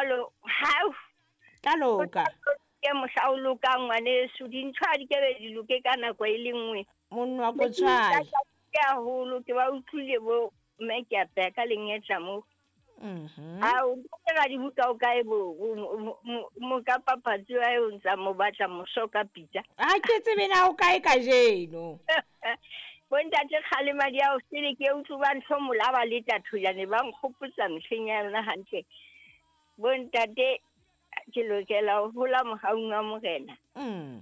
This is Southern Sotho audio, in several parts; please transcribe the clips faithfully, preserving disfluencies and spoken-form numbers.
jwalo ha ka loka ke mohla o lokang ngwaneso dintho ha di ke be di loke ka nako e le nngwe monna wa ko tshwae ke haholo ke ba utlwile bo mme ke a peha ka lengetla mo mhm a o ke di buka o kae bo mo ka papatsi wa o ntsa mo batla moso ka pitsa a ke tsebe na o kae kajeno bo ntate kgalema di a o sele ke utlwa ba ntho molaba le tathojane ba nkgopotsa mehleng ya yona hantle bo ntate ke lokela ho hola mohaung wa morena mm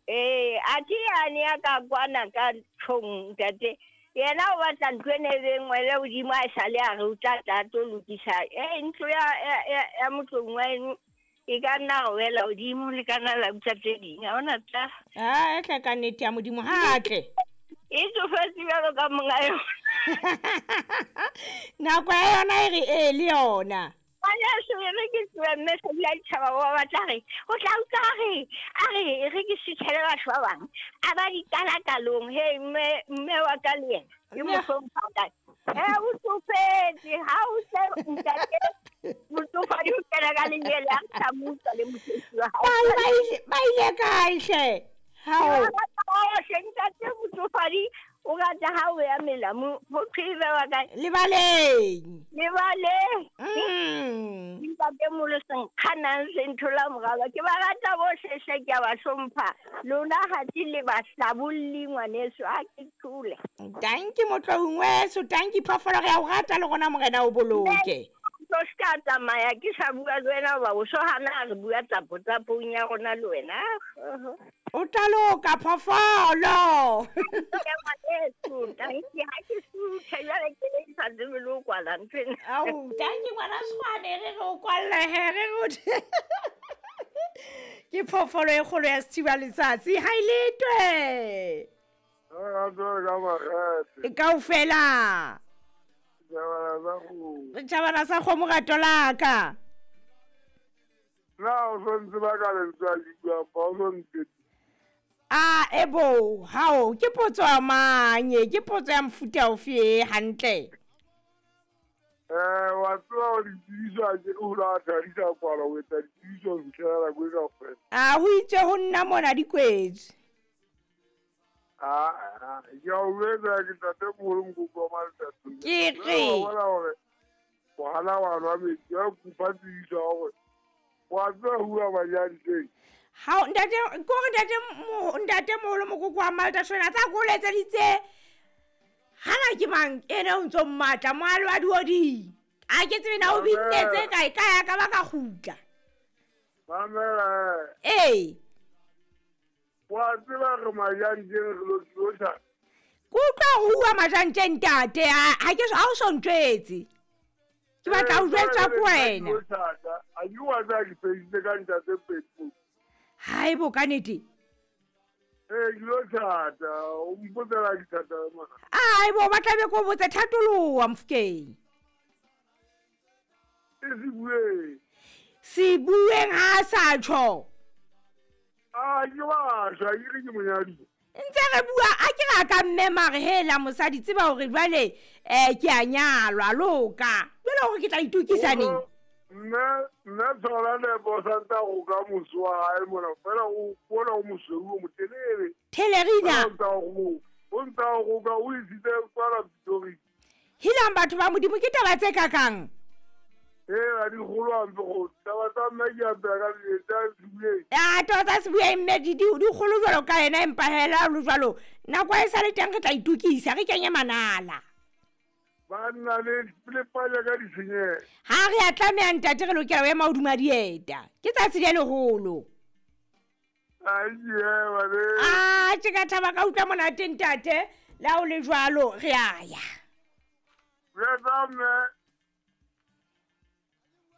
eh a thi yane ya ka kwana ka tjhong ntate yena o batla ntlo ene e be nngwe le hodimo a sale a re o tla tla tlo lokisa eh ntlo ya ya ya motlong wa eno e ka nna go wela hodimo le ka nna la utlwa tse ding ha hona tla a tle ka nnete ya modimo ha tle e tsofetse jwalo ka monga yona nako ya yona e re e le yona ngwaneso e re ke tlohe mme Sadi a ditjhaba ba batla re o tla utlwa a re a re e re ke suthele batho ba bang a ba di qala kalong he mme mme wa ka le yena ke mo hlompha kae he o tsofetse ha o se ntate motsofadi o kena ka lenyele a sa mo utlwa le mosebetsi wa hao ba ba ile ba ile kae hle hao hle ntate motsofadi o rata ha o ya melamu ho thwe e bewa kae lebaleng lebaleng mm ntate molo se nkganang se nthola moraba ke ba rata bohle hle ke a ba hlompha lona ha di le bahlabolli ngwaneso ha ke thule tanki motloung weso tanki phoofolo re a o rata le rona morena o boloke tlo se ka tsamaya ke sa bua le wena hoba o so hana re bua tsapo tsapong ya rona le wena o tla loka phoofolo ke ngwaneso tanki ha ke suthe jwale ke le sa tsebe le ho kwala nthwena ao tanki ngwana Tshwane re re o kwalle he re re ke phoofolo e kgolo ya sethiba letsatsi ha e letwe a tswe ka makgethe kaofela tjhabana sa kgomo re tjhabana sa kgomo rato la ka na o so ntse ba ka lentswe a le buang fa o so ntse a ebo hao ke potso ya manye ke potso ya mofuta ofe e hantle eh wa tseba o ditsebiso a ke o la thadisa kwala o etsa ditsebiso ho fihlela nako e kaofela a ho itse ho nna mona di kwetswe a a ke a o jwetsa ke ntate moholo Mokoko wa Maletathole ke re wa bona hore wa wa nwa metsi a kopa tsebiso ya hore wa tseba ho bua majanteng hao ntate ko re ntate mo ntate moholo Mokoko wa Maletathole a tsa ko letseditse hana ke mang ene o ntso mmatla moalo wa diodi a ke tsebe na o binnetse kae kae a ka ba ka kgutla mamela ee wa tseba re majanteng re lo tlosa ke utlwa ho bua majanteng ntate ha ke ha o so ntjwetse ke batla ho jwetswa ke wena a ke wa tseba ke feditse ka ntate Petro hae bo ka nnete ee ke lo thata o mpotsela ke thata mona ai bo ba tlabe ko botse thatoloha Mofokeng e se bueng se bueng ha sa tjho a ke wa shwa ke re ke monyadi ntse re bua a ke ra ka mme mare hela mosadi tseba hore jwale eh ke a nyalwa loka jwale hore ke tla itokisa neng nna nna tshola nepo sa ntsa go ka moso wa hae mona fela o bona o mosweu o motelele Thelerina o ntsa go o ntsa go ka o isitse kwala Pretoria helang batho ba modimo ke taba tse kakang ee a di kgolo hampe go taba tsa mme ke a peha ka tsa sebueng a taba tsa sebueng mme di di kgolo jwalo ka yena empa hela lo jwalo nako e sa le teng re tla itokisa re kenye manala banna le le panya ka ditshenyehelo ha re a tlameha ntate re lokela ho ema hodima dieta ke tsatsi le leholo ai ema le a tje ka thaba ka utlwa monate ntate le ha o le jwalo re a ya re tsa mme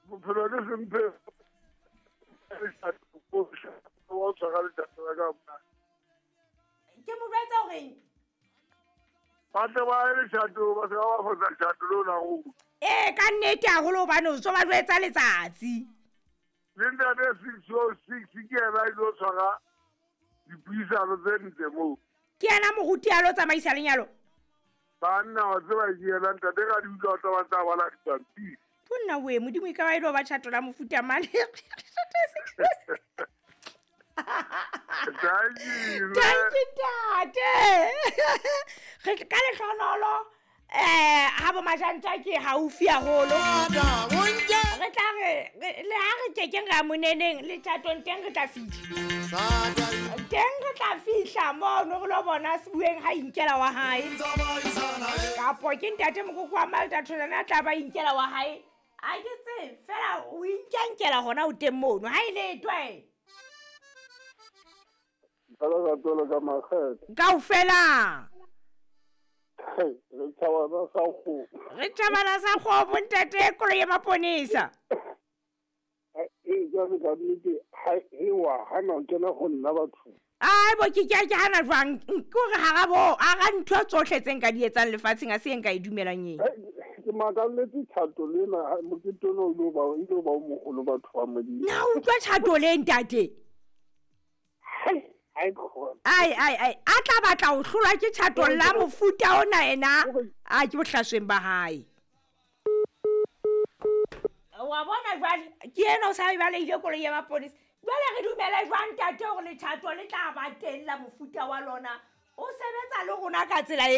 bophelo ke semphe wa tshwara letsatsi la ka mona ke mo jwetsa horeng ba tle ba ye letjhato ba se ba fosa letjhato lona go ee ka nnete haholo hobane o so ba jwetsa letsatsi le ntate six oh six ke yena a ilo tshwara dipuisano tse ntle moo ke yena moruti a lo tsamaisa lenyalo banna wa tseba ke yena ntate ka di utlwa tsa ba tsa bala dipampiri Nna we modimo e ka ba e le ba tšhato la mofuta mane. Thank you. Thank you ntate. Re ka lehlonolo eh ha bo majantja ke haufi haholo. Re tla re le ha re kekeng ra moneneng le tjatong teng re tla fihla. Teng re tla fihla mono re lo bona Sebueng ha inkela wa hae. Kapo ke ntate mokoko wa Malta Tholana a tla ba inkela wa hae. A ke tsebe fela o inkankela hona o teng mono ha ile twe. Ka tolo ka makgethe. Kaofela. Re thabana sa kgomo. Re thabana sa kgomo ntate koloi ya maponesa. E jwale ka nnete ha e wa hana o kena ho nna batho. Ai bo ke ke ke hana jwang ke hore hara bo hara ntho tsohle tse nka di etsang lefatsheng a se nka e dumelang eng. Ke makalletse tjhato lena mokete ono o lo ba o lo ba o moholo batho ba Modimo. Na utlwa tjhato le ntate. Ai ai ai a tla batla ho hlolwa ke tjhato la mofuta ona ena a ke bohlasweng ba hae. Wa bona jwale ke ena o sa e baleile koloi ya maponesa. Jwale re dumele jwang ntate hore letjhato le tla ba teng la mofuta wa lona o sebetsa le rona ka tsela e